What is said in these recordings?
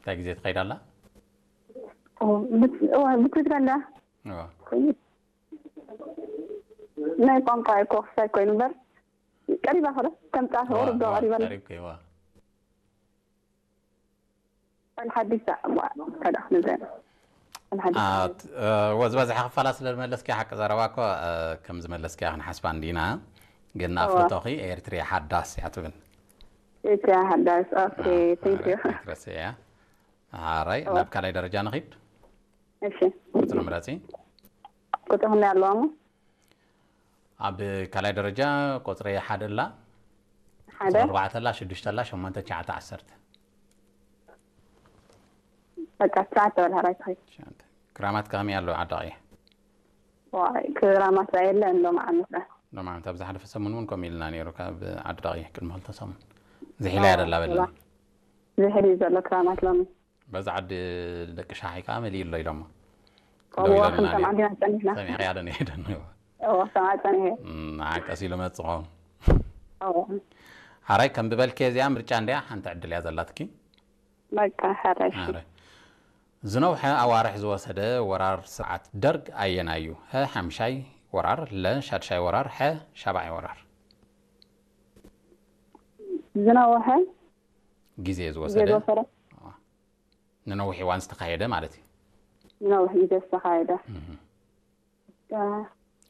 እንታይ ግዜ ትኸይድ ኣላ? ብትግረ ኣላ። ናይ ቋንቋ ኮክሳይ ኮይኑ እምበር ቀሪባ ከሎ ከም ፃፍ ቁርብ ዶ ቀሪባ ኣላ። ቀሪብ ከይዋ ኣልሓዲስ ከዳ ንዘ ኣልሓዲስ ወዝበዝሐ ክፋላ ስለ ዝመለስኪ ሓቂ ዘረባ እኮ ከም ዝመለስኪ ክንሓስባ እንዲና። ግን ኣፍልጦኺ ኤርትርያ ሓዳስ እያ ትብል። ኤርትርያ ሓዳስ። ኦኬ፣ thank you። ትረስዕ እያ። ሓራይ ናብ ካልኣይ ደረጃ ንኺድ። እሺ፣ ቁፅሪ ምረፂ። ቁፅሪ ክንደይ ኣለዋ እሞ? ኣብ ካልኣይ ደረጃ ቁፅሪ ሓደ ኣላ፣ ሓደ ቁፅሪ ኣርባዕተ ኣላ፣ ሽዱሽተ ኣላ፣ ሸሞንተ፣ ትሽዓተ፣ ዓሰርተ። በቃ ትሽዓተ በል ሓራይ ትኸይድ። ትሽዓተ። ክራማት ከመይ ኣሎ ዓዲ ቀይሕ? ዋይ ክራማት ላ የለን ሎም ዓመት ላ። ሎም ዓመት ኣብ ዝሓለፈ ሰሙን እውን ከምኡ ኢልና ነይሩ ካብ ዓዲ ቀይሕ ቅድሚ ክልተ ሰሙን። ዝሒላ እያ ደላ በልና። ዝሕል እዩ ዘሎ ክራማት ሎሚ። በዛ ዓዲ ደቂ ሻሓይ ከዓ መሊኡ ኣሎ ኢሎሞ። ከምኡ ደው ዋ ኢሎምና ክንሰምዓ ነይሩ። ዲና ጸኒሕና። ሰሚዕኽያ ዶ ነይሩ? እዎ ሰምዓ ጸኒሐ። ንዓ ቀስ ኢሉ መጽእ ኸውን። እዎ ሓራይ ከም ዝበልክዮ እዚኣ ምርጫ እንድያ፣ ሓንቲ ዕድል እያ ዘላትኪ። በቃ ሓራይ። ሓራይ ዝነውሐ ኣዋርሕ ዝወሰደ ወራር ስርዓት ደርግ ኣየናይ እዩ? ሀ ሓምሻይ ወራር፣ ለ ሻድሻይ ወራር፣ ሐ ሻብዓይ ወራር። ዝነውሐ ግዜ ግዜ ዝወሰደ ዝወሰደ ንነዊሕ እዋን ዝተኻየደ ማለት እዩ። ዝነውሕ ግዜ ዝተኻየደ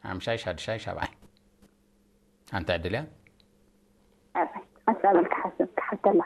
ሓምሻይ፣ ሻድሻይ፣ ሻብዓይ። ሓንቲ ዕድል እያ። ሓሳበል ክሓስብ ክሓተላ።